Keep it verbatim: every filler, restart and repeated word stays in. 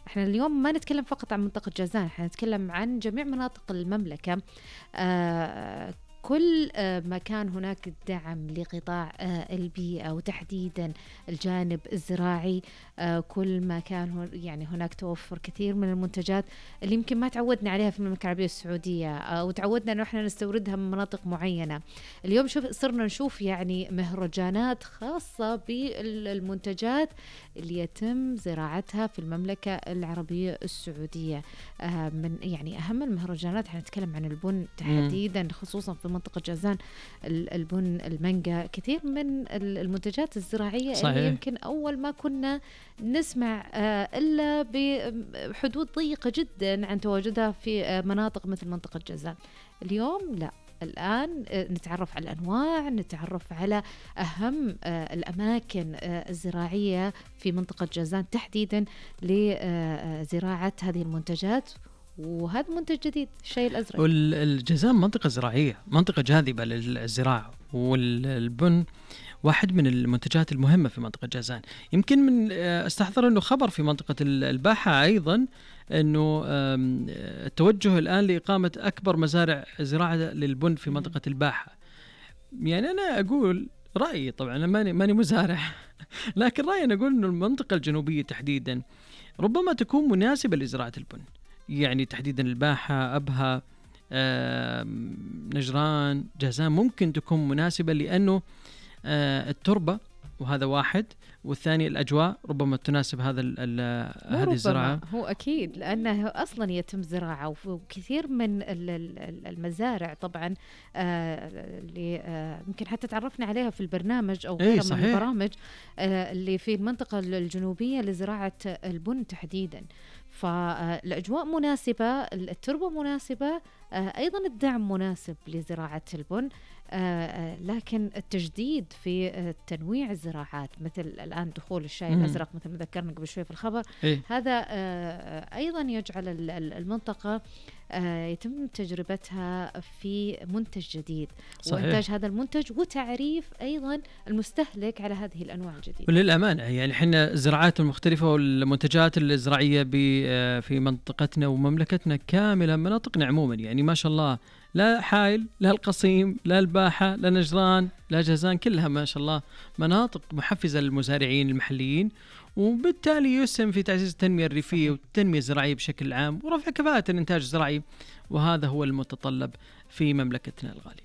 احنا اليوم ما نتكلم فقط عن منطقة جازان، احنا نتكلم عن جميع مناطق المملكة. آه كل ما كان هناك دعم لقطاع البيئة وتحديدا الجانب الزراعي، كل ما كان يعني هناك توفر كثير من المنتجات اللي يمكن ما تعودنا عليها في المملكة العربية السعودية، أو تعودنا أنه إحنا نستوردها من مناطق معينة. اليوم شوف صرنا نشوف يعني مهرجانات خاصة بالمنتجات اللي يتم زراعتها في المملكة العربية السعودية. من يعني أهم المهرجانات احنا نتكلم عن البن تحديدا، خصوصا في منطقة جازان، البن، المانجا، كثير من المنتجات الزراعية صحيح. اللي يمكن أول ما كنا نسمع إلا بحدود ضيقة جدا عن تواجدها في مناطق مثل منطقة جازان. اليوم لا، الآن نتعرف على الأنواع، نتعرف على أهم الأماكن الزراعية في منطقة جازان تحديدا لزراعة هذه المنتجات، وهذا منتج جديد، الشاي الأزرق. والجازان منطقة زراعية، منطقة جاذبة للزراعة، والبن واحد من المنتجات المهمة في منطقة جازان. يمكن من استحضر أنه خبر في منطقة الباحة أيضا أنه التوجه الآن لإقامة أكبر مزارع زراعة للبن في منطقة الباحة. يعني أنا أقول رأيي، طبعا أنا ماني, ماني مزارع لكن رأيي أنا أقول أنه المنطقة الجنوبية تحديدا ربما تكون مناسبة لزراعة البن، يعني تحديدا الباحة، أبها، نجران، جازان ممكن تكون مناسبة، لأنه التربة وهذا واحد، والثاني الأجواء ربما تناسب هذا هذه الزراعة. هو أكيد لأنه أصلا يتم زراعة وكثير من المزارع طبعا اللي يمكن حتى تعرفنا عليها في البرنامج أو غيره من البرامج اللي في المنطقة الجنوبية لزراعة البن تحديدا. فالأجواء مناسبة، التربة مناسبة، أيضا الدعم مناسب لزراعة البن، لكن التجديد في تنويع الزراعات مثل الآن دخول الشاي مم. الأزرق مثل ما ذكرنا قبل شوي في الخبر إيه؟ هذا أيضا يجعل المنطقة يتم تجربتها في منتج جديد صحيح. وإنتاج هذا المنتج وتعريف أيضا المستهلك على هذه الأنواع الجديدة. وللأمانة يعني إحنا الزراعات المختلفة والمنتجات الزراعية في منطقتنا ومملكتنا كاملة، مناطقنا عموما يعني ما شاء الله، لا حائل، لا القصيم، لا الباحة، لا نجران، لا جازان، كلها ما شاء الله مناطق محفزة للمزارعين المحليين، وبالتالي يسهم في تعزيز التنمية الريفية والتنمية الزراعية بشكل عام ورفع كفاءة الإنتاج الزراعي، وهذا هو المتطلب في مملكتنا الغالية.